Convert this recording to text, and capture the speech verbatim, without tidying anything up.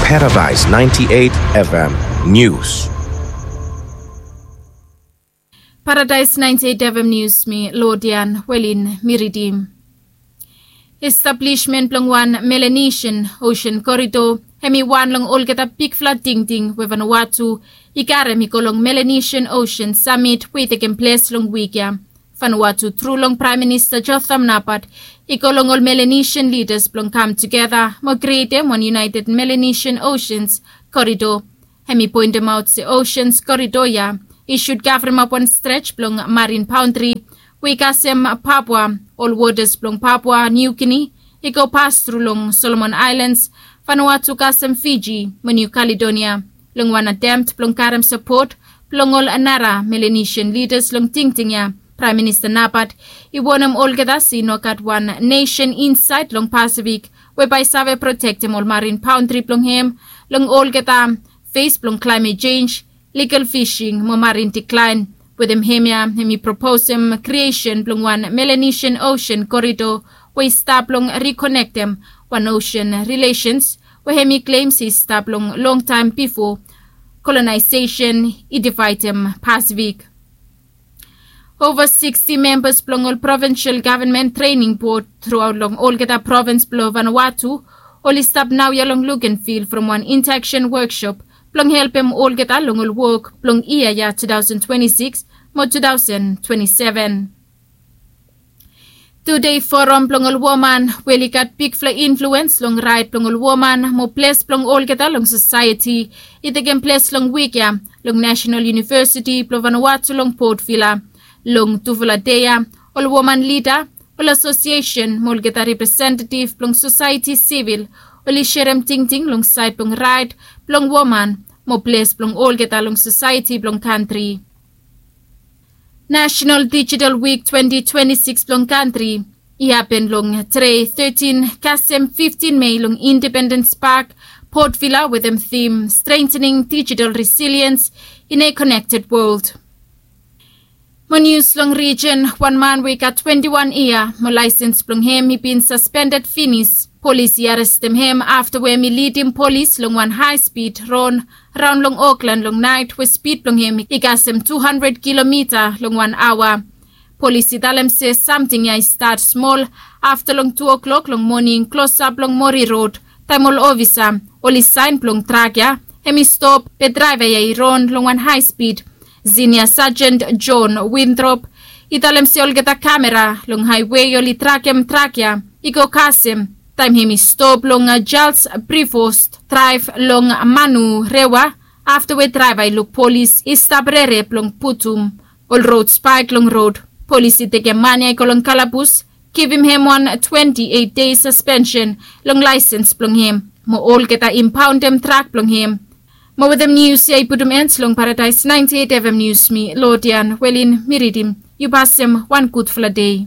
Paradise ninety-eight F M News. Paradise ninety-eight F M News, mi Lodian Welin mi ridim. Establishment blong wan Melanesian Ocean Corridor hemi wan long olgeta bigfala tingting we Vanuatu i karem i go long Melanesian Ocean Summit we i tekem ples long wik ya. Vanuatu tru long Praem Minista Jotham Napat i go long ol Melanesian lidas blong kam tugeta mo krietem wan United Melanesian Oceans Corridor. Hemi poentemaot se Oceans Corridor ya i sud kavremap wan stret blong marin baontri we i kasem Papua, ol wotas blong Papua New Guinea i go pas tru long Solomon Aelans, Vanuatu kasem Fiji mo Niu Kaledonia. Long wan atemt blong karem sapot blong ol nara Melanesian lidas long tingting ya, Praem Minista Napat i wonem olgeta se i no gat wan nesen insaed long Pasifik we bae i save protektem ol marin baontri blong hem long olgeta fes blong klaemet jenj, ligal fising mo marin diklaen. Wetem hemia hemi proposem kriesen blong wan Melanesian Ocean Corridor we i stap blong rikonektem wan ocean rilesens we hemi klem se i stap long longtaem bifo kolonaesesen i divaedem Pasifik. Ova siksti membas blong ol Provinsel Gavenmen Trening Bod truaot long olgeta provins blong Vanuatu oli stap naoia long Lukenvil from wan intaksen woksop blong helpem olgeta long ol wok blong yia ya tu taosen twenti sikis mo tu taosen twenti seven. Tudei foram blong ol woman we oli gat bigfala influens long raet blong ol woman mo ples blong olgeta long sosaeti i tekem ples long wik ya long Nasenal Univesiti blong Vanuatu long Potvila. Long tufala dei ya ol woman lida, ol asosiesen mo olgeta representetif blong sosaeti sivil oli serem tingting long saed blong raet blong woman mo ples blong olgeta long sosaeti blong kantri. Nasenal Dijital Wik twenti twenti sikis blong kantri i hapen long tre tetin kasem fiftin Mei long Independens Pak, Potvila wetem tim Strengthening Digital Resilience in a Connected World. Mo nius long rijen, wan man we i gat twenti wan yia mo laesens blong hem i bin saspendet finis. Polis i arestem hem afta we hem i lidim polis long wan hae spid ron raon long Oklan long naet we spid blong hem i kasem tu handred kilomita long wan aoa. Polis i talem se samting ya i stat smol afta long tu o'klok long moning klosap long Mori Rod, taem ol ofisa oli saen blong trak ya hem i stop be draeva ya i ron long wan hae spid. Sinia Sajen John Winthrop i talem se olgeta kamera long haewe oli trakem trak ya i go kasem taem hem i stop long Charles Prevost Draev long Manurewa, afta we draeva i luk polis i stap rerep long putum ol rod spaek long rod. Polis i tekem man ya i go long kalabus, givim hem wan twenti eit dei saspensen long laesens blong hem mo olgeta impaondem trak blong hem. Mo wetem nius ya i putum en long Paradaes naenti eit F M Nius, mi Lodian Welin mi ridim. Yu pasem wan gudfala dei.